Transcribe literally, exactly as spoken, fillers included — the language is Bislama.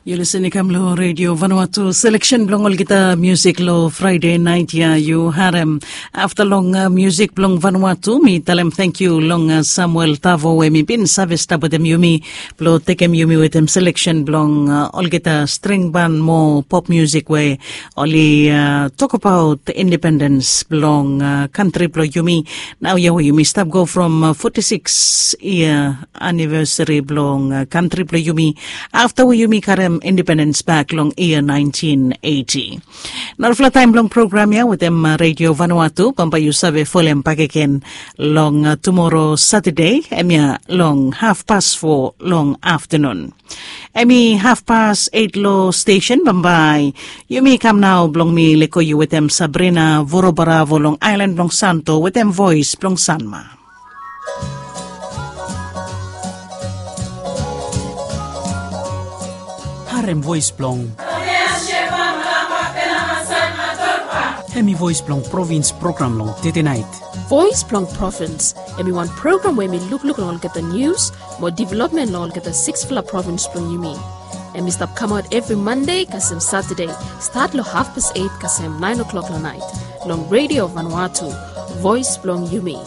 Yu lisen i kam long redio Vanuatu, seleksen blong olgeta musik long Fraide nait ya yu harem. Afta long musik blong Vanuatu, mi talem tangkiu long Samuel Tavo we mi bin save stap wetem yumi blong tekem yumi wetem seleksen blong olgeta string ban mo pop musik we oli tokabaot independens blong kantri blong yumi. Nau ya we yumi stap go from foti siks yia anivesari blong kantri blong yumi afta we yumi karem independens bak long yia naentin eiti. Narafala taem blong program ya wetem redio Vanuatu bambae yu save folem bakegen long tumoro Satade, hemia long hafpas fo long aftanun. Hemi hafpas eit long stesen bambae. Yumi kam nao blong mi lego yu wetem Sabrina Vorobaravo long aelan blong Santo wetem voes blong Sanma. Harem voes blong. Hemi voes blong provins program long tete nait. Voes blong provins, hemi wan program we hemi lukluk long olgeta nius mo developmen long olgeta siksfala provins blong yumi. Hemi stap kamaot evri Mande kasem Satade, stat long hafpas eit kasem naen oklok long nait, long redio Vanuatu, voes blong yumi.